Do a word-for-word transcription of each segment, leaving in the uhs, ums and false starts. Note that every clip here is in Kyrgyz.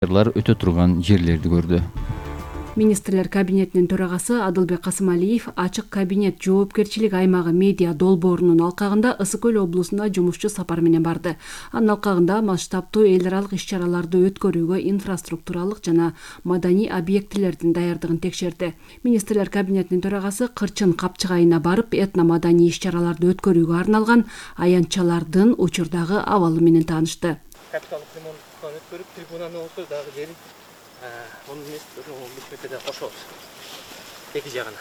өтө турган жерлерди көрдү. Министрлер кабинетинин төрагасы Адылбек Касымалиев ачык кабинет жоопкерчилик аймагы медиа долбоорунун алкагында Ысык Көл облусуна жумушчу сапар менен барды. Анын алкагында масштабтуу эл аралык иш-чараларды өткөрүүгө инфраструктуралык жана маданий объектилердин даярдыгын текшерди. Министрлер кабинетинин төрагасы Кырчын капчыгайына барып, этно маданий иш-чараларды өткөрүүгө арналган аянтчалардын учурдагы абалы менен таанышты. Капиталдык ремонттан өткөрүп, трибунаны болсо дагы жери onun üç metrede koşuyoruz. Eki jagına.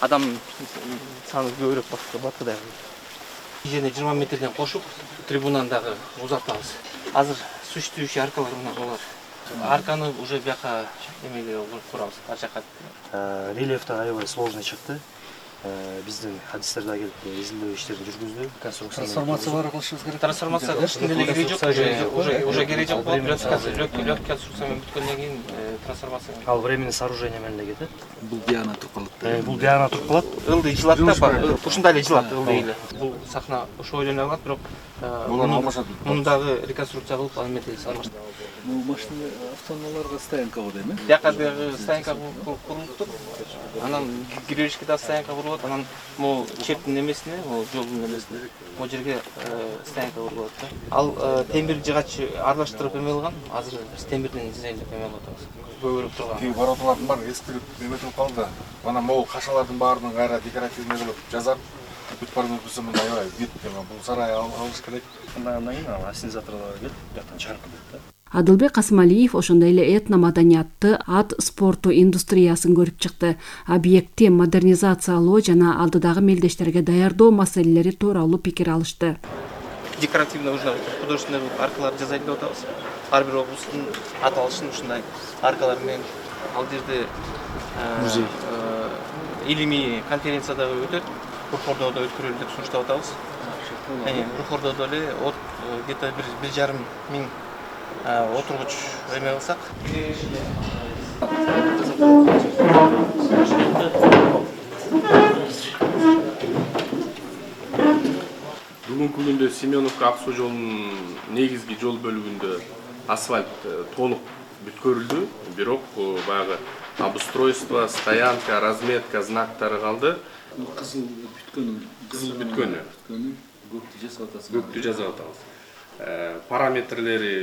Adam sanı görüp bakı batı da. Yine yirmi metreden koşup tribunandagı uzatабыз. Азыр суч түшү аркалар менен болот. Арканы уже бияка эмеге курабыз. Ар жака. Рельефте аябай сложный чыкты. Биздин хадистер да келип изилдөө иштерин жүргүздү. Трансформация бар кылышыбыз керек. Трансформация кылыштын деле кереги жок. Уже уже кереги жок. Лёгкий конструкция менен бүткөндөн кийин трансформация. Ал временный сооружение менен эле кетет. Бул диана туруп калат. Бул диана туруп калат. Ылдый жылат да, ушундай эле жылат ылдый эле. Бул сахна ошо ойлоно алат, бирок муну дагы реконструкция кылып ал метелди салмаштырып. Бул машина автономаларга стоянка бар эми. Бияка стоянка курулуптур. Анан киребишке да стоянка курулат. Анан могу чептин эмесине, могу жолдун эмесине, могу жерге стоянка курулат да. Ал темир жыгач аралаштырып эме кылган. Азыр биз темирден дизайндеп эме кылып атабыз. Көбүрөөк турган. Кийин вороталардын баары эскирип эметип калды. Анан могу кашалардын баарынын кайра декоративный кылып жазап, бүт барын өткөзсөм мындай аябай вид эме бул сарай алыш керек. Андан кийин ал ассенизаторлорго келип, жактан чаркы дейт да. Адылбек Касымалиев ошондой эле этно маданиятты, ат спорту индустриясын көрүп чыкты. Объектти модернизациялоо жана алдыдагы мелдештерге даярдоо маселелери тууралуу пикир алышты. Декоративный уже художественный аркалар жасайт деп атабыз. Ар бир облустун аталышын ушундай аркалар менен ал жерде музей илимий конференция да өтөт. Рухордоодо өткөрөлүп деп сунуштап атабыз. Рухордоодо эле от где-то бир жарым миң отургуч эме кылсак. Бүгүнкү күндө Семеновка Ак суу жолунун негизги жол бөлүгүндө асфальт толук бүткөрүлдү, бирок баягы обустройство, стоянка, разметка знактары калды. Кызыл бүткөнү, кызыл бүткөнү, көктү жасап атасыз. Көктү жасап атабыз. Параметрлери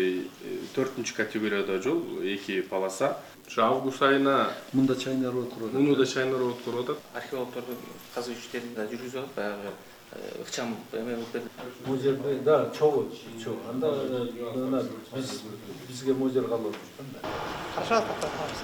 төртүнчү категорияда жол, эки полоса. Ошо август айына мында чайнар өткөрүп атат. Мында чайнар өткөрүп атат. Археологдордун казуу иштерин да жүргүзүп атат, баягы ыкчам эме кылып берди. Бул жерде да чогуу, чогуу. Анда биз бизге мозер калып атат. Хорошо атабыз.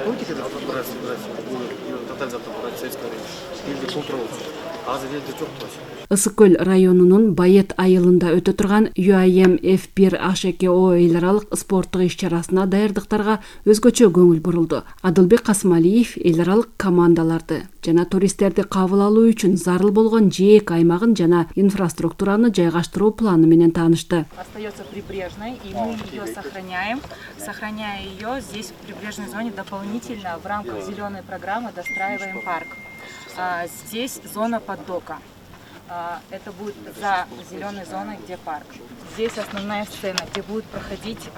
Помните, когда тотализатор брать советское время? Элди толтурулчу. Азыр элди жок вообще. Ысык Көл районунун Байет айылында өтө турган ю ай эм эф бир H эки O эл аралык спорттук иш-чарасына даярдыктарга өзгөчө көңүл бурулду. Адылбек Касымалиев эл аралык командаларды жана туристтерди кабыл алуу үчүн зарыл болгон жээк аймагын жана инфраструктураны жайгаштыруу планы менен таанышты. Остается прибрежной, и мы ее сохраняем. Сохраняя ее, здесь в прибрежной зоне дополнительно в рамках зеленой программы достраиваем парк. Здесь зона поддока. Это будет за зеленой зоной, где парк. Здесь основная сцена, где будут проходить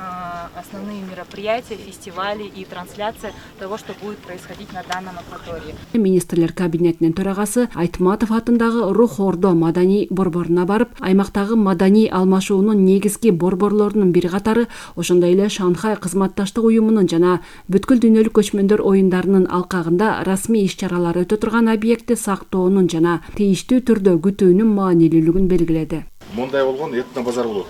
основные мероприятия, фестивали и трансляция того, что будет происходить на данном акватории. Министрлер кабинетинин төрагасы Айтматов атындагы Рухордо маданий борборуна барып, аймактагы маданий алмашуунун негизги борборлорунун бири катары, ошондой эле Шанхай кызматташтык уюмунун жана бүткүл дүйнөлүк көчмөндөр оюндарынын алкагында расмий иш-чаралар өтө турган объектти сактоонун жана тийиштүү түрдө күтүүнүн маанилүүлүгүн белгиледи. Мындай болгон этно базар болот.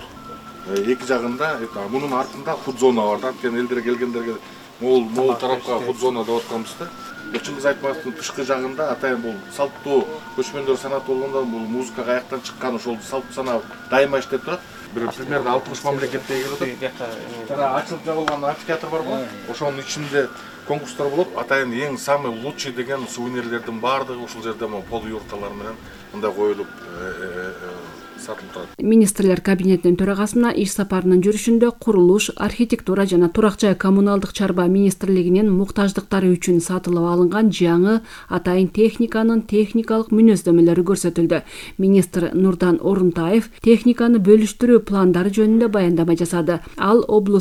Эки жагында, мунун артында фуд зона бар да. Анткени элдер келгендерге могул могул тарапка фуд зона деп атканбыз да. Чыңгыз Айтматовдун тышкы жагында атайын бул салттуу көчмөндөр санаты болгондо бул музыка каяктан чыккан ошол салт санаа дайыма иштеп турат. Бир примерно алтымыш мамлекетте келип атат. Ачылып жабылган амфитеатр бар го. Ошонун ичинде конкурстар болот. Атайын эң самый лучший деген сувенирлердин баардыгы ушул жерде пол юрталар менен мындай коюлуп сатылып турат. Министрлер кабинетинин төрагасына иш сапарынын жүрүшүндө курулуш, архитектура жана турак жай коммуналдык чарба министрлигинин муктаждыктары үчүн сатылып алынган жаңы атайын техниканын техникалык мүнөздөмөлөрү көрсөтүлдү. Министр Нурдан Орунтаев техниканы бөлүштүрүү пландары жөнүндө баяндама жасады. Ал облустун